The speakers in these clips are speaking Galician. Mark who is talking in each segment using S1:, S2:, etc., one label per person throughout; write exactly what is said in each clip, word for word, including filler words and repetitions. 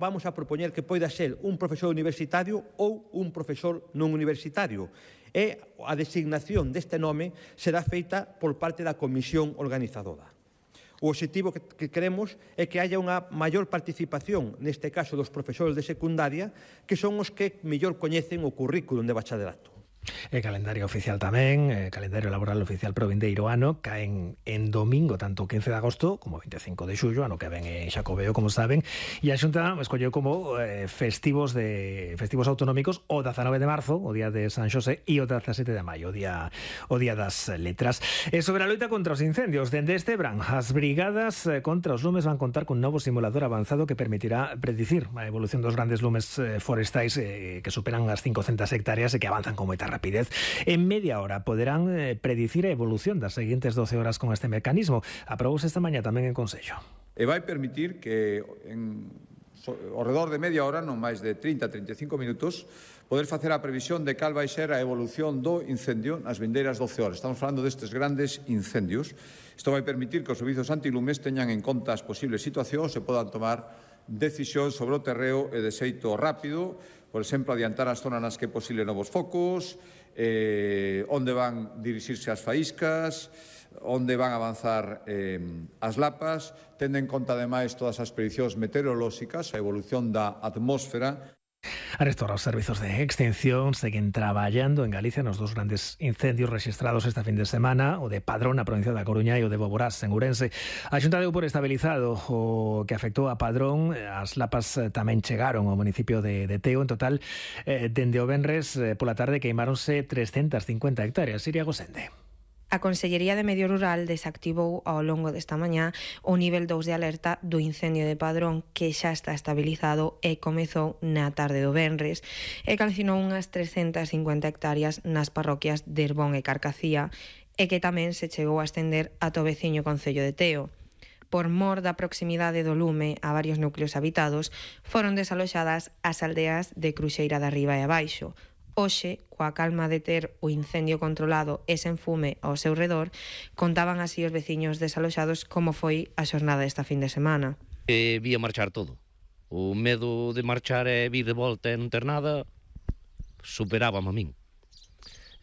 S1: vamos a propoñer que poida ser un profesor universitario ou un profesor non universitario. E a designación deste nome será feita por parte da comisión organizadora. O obxectivo que queremos é que haya unha maior participación, neste caso dos profesores de secundaria, que son os que mellor coñecen o currículum de bachillerato.
S2: E calendario oficial tamén, e calendario laboral oficial pro vindeiro ano, caen en domingo, tanto o quince de agosto como o veinticinco de xullo, ano que ven é Xacobeo, como saben, e a Xunta escolleu como eh, festivos de festivos autonómicos o dezanove de marzo, o día de San Xosé, e o dezasete de maio, o día, o día das letras. E sobre a loita contra os incendios, dende este verán, as brigadas contra os lumes van contar cun novo simulador avanzado que permitirá predicir a evolución dos grandes lumes forestais eh, que superan as cincocentas hectáreas e que avanzan con moita rapidez. En media hora poderán eh, predicir a evolución das seguintes doce horas con este mecanismo. Aprobouse esta mañá tamén en Consello.
S3: E vai permitir que en so, ao redor de media hora, non máis de trinta a trinta e cinco minutos, poder facer a previsión de cal vai ser a evolución do incendio nas vindeiras doce horas. Estamos falando destes grandes incendios. Isto vai permitir que os servizos antilumes teñan en conta as posibles situacións e podan tomar decisións sobre o terreo e de xeito rápido, por exemplo, adiantar as zonas nas que é posible novos focos, eh, onde van dirixirse as faíscas, onde van avanzar eh, as lapas, tendo en conta, ademais, todas as predicións meteorolóxicas, a evolución da atmósfera.
S2: Arestora, os servizos de extinción seguen traballando en Galicia nos dos grandes incendios rexistrados esta fin de semana, o de Padrón na provincia da Coruña e o de Boborás en Ourense. A Xunta deu por estabilizado o que afectou a Padrón. As lapas tamén chegaron ao municipio de, de Teo. En total, eh, dende o venres eh, pola tarde queimáronse trescentas cincuenta hectáreas. Siria Gosende.
S4: A Consellería de Medio Rural desactivou ao longo desta mañá o nivel dous de alerta do incendio de Padrón, que xa está estabilizado e comezou na tarde do venres, e calcinou unhas trescentas cincuenta hectáreas nas parroquias de Herbón e Carcacía, e que tamén se chegou a estender ata o veciño concello de Teo. Por mor da proximidade do lume a varios núcleos habitados, foron desaloxadas as aldeas de Cruxeira de Arriba e Abaixo. Hoxe, coa calma de ter o incendio controlado e sen fume ao seu redor, contaban así os veciños desaloxados como foi a xornada esta fin de semana.
S5: E vía marchar todo. O medo de marchar e vir de volta e non ter nada superábame a min.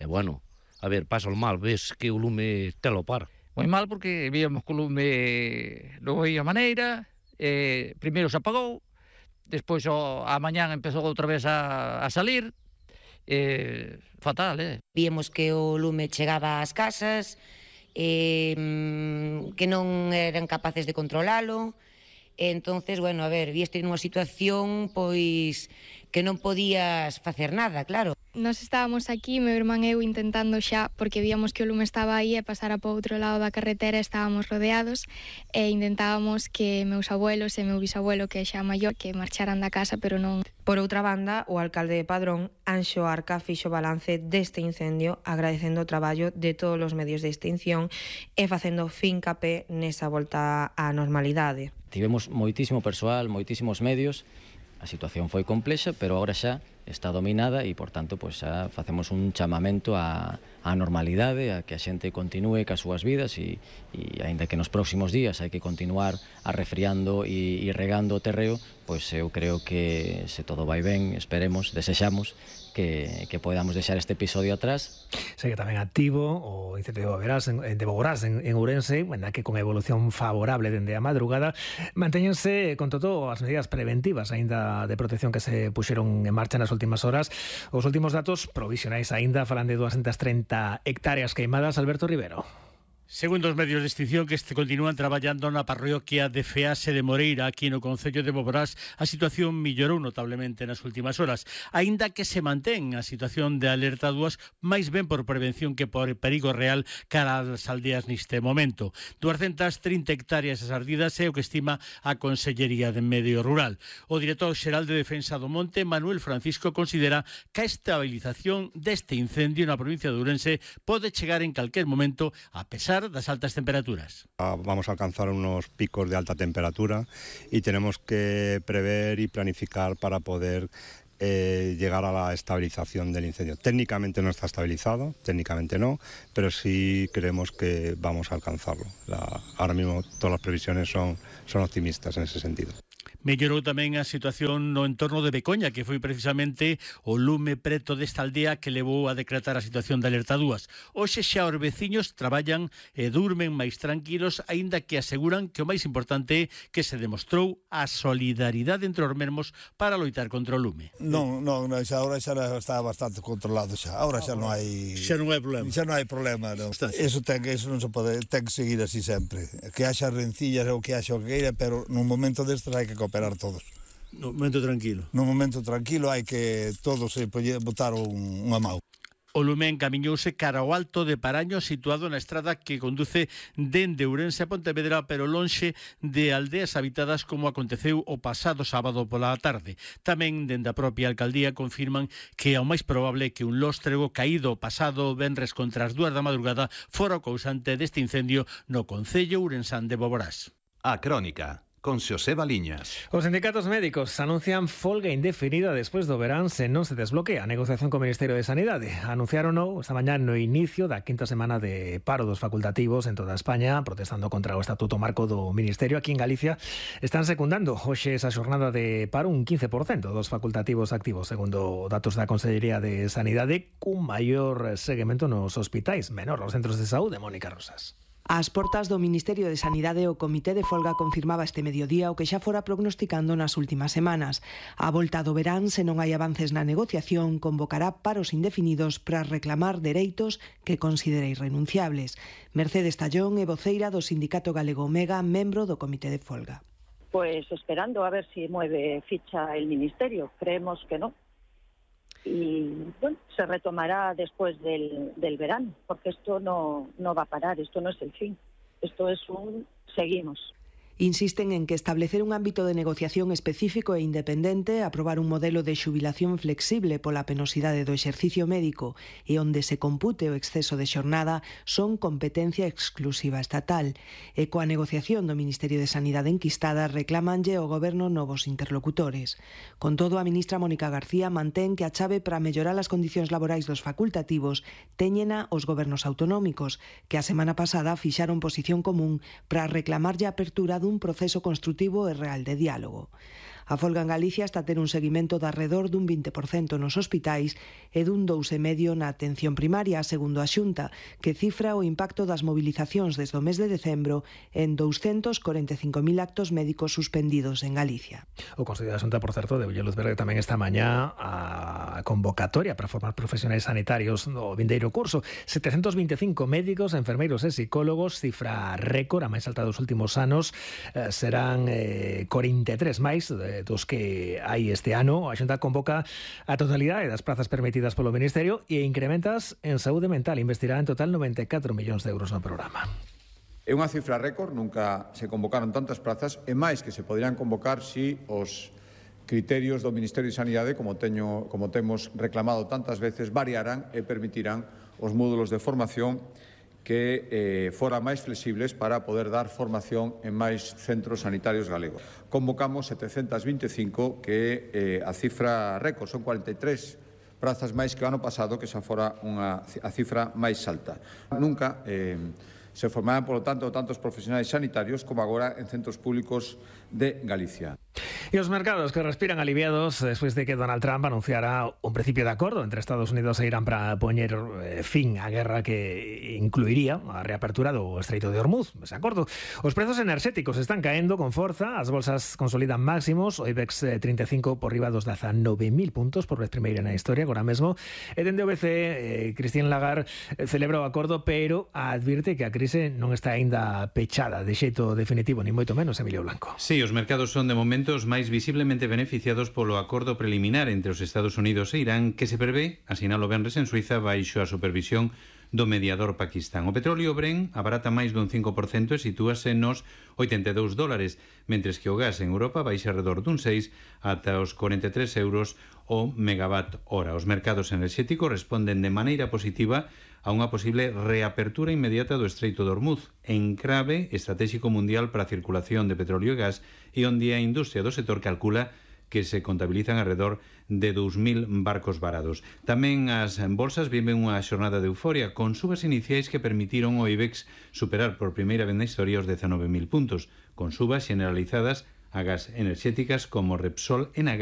S5: E bueno, a ver, pasa o mal, ves que o lume te lo par.
S6: Moi mal porque víamos que o lume non veía maneira, eh, primeiro se apagou, despois o, a mañán empezou outra vez a, a salir. Eh, fatal, eh?
S7: Víamos que o lume chegaba ás casas, eh, que non eran capaces de controlalo, e entonces, bueno, a ver, víeste nunha situación, pois, que non podías facer nada, claro.
S8: Nos estábamos aquí, meu irmán e eu, intentando xa, porque víamos que o lume estaba aí e pasara para outro lado da carretera, estábamos rodeados, e intentábamos que meus abuelos e meu bisabuelo, que é xa maior, que marcharan da casa, pero non.
S4: Por outra banda, o alcalde de Padrón, Anxo Arca, fixo balance deste incendio, agradecendo o traballo de todos os medios de extinción e facendo fincapé nesa volta á normalidade.
S9: Tivemos moitísimo persoal, moitísimos medios. A situación foi complexa, pero agora xa está dominada e, por tanto, pues, xa facemos un chamamento á, á normalidade, a que a xente continúe cas súas vidas e, e aínda que nos próximos días hai que continuar arrefriando e, e regando o terreo, pois eu creo que se todo vai ben, esperemos, desexamos que, que podamos deixar este episodio atrás.
S2: Segue tamén activo o incendio de Boborás en, de Boborás en, en Ourense, na que con evolución favorable dende a madrugada mantéñense con todo as medidas preventivas aínda de protección que se puxeron en marcha nas últimas horas. Os últimos datos provisionais aínda falan de doscientas trinta hectáreas queimadas. Alberto Rivero.
S10: Segundo os medios de extinción que este continúan traballando na parroquia de Fease de Moreira, aquí no concello de Boborás, a situación mellorou notablemente nas últimas horas, aínda que se mantén a situación de alerta dúas, máis ben por prevención que por perigo real cara ás aldeas neste momento. doscientas trinta hectáreas as ardidas é o que estima a Consellería de Medio Rural. O director xeral de Defensa do Monte, Manuel Francisco, considera que a estabilización deste incendio na provincia de Ourense pode chegar en calquer momento, a pesar das altas temperaturas.
S11: Vamos a alcanzar unos picos de alta temperatura y tenemos que prever y planificar para poder eh, llegar a la estabilización del incendio. Técnicamente no está estabilizado, técnicamente no, pero sí creemos que vamos a alcanzarlo. La, ahora mismo todas las previsiones son, son optimistas en ese sentido.
S10: Mellorou tamén a situación no entorno de Becoña, que foi precisamente o lume preto desta aldea que levou a decretar a situación de alerta dúas. Hoxe xa os veciños traballan e durmen máis tranquilos, aínda que aseguran que o máis importante é que se demostrou a solidaridade entre os mesmos para loitar contra o lume.
S12: Non, non, xa agora xa está bastante controlado xa. Agora xa non hai
S10: Xa non hai problema.
S12: Xa non hai problema, non. Eso ten que eso non se pode, ten que seguir así sempre. Que haxa rencillas ou que haxa o que queira, pero nun momento destes hai que cooperar todos.
S10: No momento tranquilo.
S12: Nun momento tranquilo hai que todos se botar un, unha mau.
S10: O lume encamiñouse cara ao Alto de Paraño, situado na estrada que conduce dende Ourense a Pontevedra, pero lonxe de aldeas habitadas como aconteceu o pasado sábado pola tarde. Tamén dende a propia alcaldía confirman que é o máis probable que un lóstrego caído pasado venres contra as dúas da madrugada fora o causante deste incendio no concello ourensán de Boborás.
S13: A Crónica, con Xosé Baliñas.
S2: Os sindicatos médicos anuncian folga indefinida despois do verán se non se desbloquea a negociación co Ministerio de Sanidade. Anunciaron esta mañá no inicio da quinta semana de paro dos facultativos en toda España, protestando contra o Estatuto Marco do Ministerio. Aquí en Galicia están secundando hoxe esa xornada de paro un quince por cento dos facultativos activos, segundo datos da Consellería de Sanidade, cun maior seguimento nos hospitais, menor nos centros de saúde. Mónica Rosas.
S14: Ás portas do Ministerio de Sanidade, o Comité de Folga confirmaba este mediodía o que xa fora prognosticando nas últimas semanas. A volta do verán, se non hai avances na negociación, convocará paros indefinidos para reclamar dereitos que considere irrenunciables. Mercedes Tallón é voceira do Sindicato Galego Omega, membro do Comité de Folga.
S15: Pues esperando a ver si mueve ficha el Ministerio. Creemos que no. Y bueno, se retomará después del, del verano, porque esto no, no va a parar, esto no es el fin, esto es un seguimos.
S14: Insisten en que establecer un ámbito de negociación específico e independente, aprobar un modelo de xubilación flexible pola penosidade do exercicio médico e onde se compute o exceso de xornada son competencia exclusiva estatal. E coa negociación do Ministerio de Sanidade enquistada reclamanlle ao Goberno novos interlocutores. Con todo, a ministra Mónica García mantén que a chave para mellorar as condicións laborais dos facultativos téñena os gobernos autonómicos, que a semana pasada fixaron posición común para reclamarlle a apertura dun un proceso construtivo e real de diálogo. A folga en Galicia está a ter un seguimento de arredor dun vinte por cento nos hospitais e dun dous coma cinco por cento na atención primaria, segundo a Xunta, que cifra o impacto das movilizacións desde o mes de decembro en douscentos corenta e cinco mil actos médicos suspendidos en Galicia.
S2: O Consello da Xunta, por certo, deu luz verde tamén esta mañá a convocatoria para formar profesionais sanitarios no vindeiro curso. setecentos vinte e cinco médicos, enfermeiros e psicólogos, cifra récord, a máis alta dos últimos anos, eh, serán eh, corenta e tres máis de dos que hai este ano. A Xunta convoca a totalidade das prazas permitidas polo Ministerio e incrementas en saúde mental. Investirá en total noventa e catro millóns de euros no programa.
S3: É unha cifra récord, nunca se convocaron tantas prazas, e máis que se poderán convocar si os criterios do Ministerio de Sanidade, como, teño, como temos reclamado tantas veces, variarán e permitirán os módulos de formación que eh, fora máis flexibles para poder dar formación en máis centros sanitarios galegos. Convocamos setecentos vinte e cinco, que é eh, a cifra récord, son cuarenta e tres prazas máis que o ano pasado, que xa fora unha, a cifra máis alta. Nunca eh, se formarán, polo tanto, tantos profesionais sanitarios como agora en centros públicos de Galicia.
S2: E os mercados que respiran aliviados despois de que Donald Trump anunciara un principio de acordo entre Estados Unidos e Irán para poñer eh, fin á guerra que incluiría a reapertura do Estreito de Hormuz. Ese acordo. Os prezos enerxéticos están caendo con forza, as bolsas consolidan máximos, o IBEX trinta e cinco por riba dos dezanove mil puntos por vez primeira na historia agora mesmo. E dende o B C E, eh, Christine Lagarde celebra o acordo, pero advirte que a crise non está aínda pechada de xeito definitivo, ni moito menos. Emilio Blanco.
S16: Sí, os mercados son de momentos máis visiblemente beneficiados polo acordo preliminar entre os Estados Unidos e Irán, que se prevé, asinalo venres en Suiza, baixo a supervisión do mediador Pakistán. O petróleo Brent abarata máis dun cinco por cento e sitúase nos oitenta e dous dólares, mentres que o gas en Europa baixa alrededor dun seis ata os corenta e tres euros o megawatt hora. Os mercados enerxéticos responden de maneira positiva a unha posible reapertura inmediata do Estreito de Hormuz, encrave estratégico mundial para a circulación de petróleo e gas, e onde a industria do sector calcula que se contabilizan alrededor de dous mil barcos varados. Tamén as bolsas viven unha xornada de euforia, con subas iniciais que permitiron ao IBEX superar por primeira vez na historia os dezanove mil puntos, con subas generalizadas Agas enerxéticas como Repsol, Enagas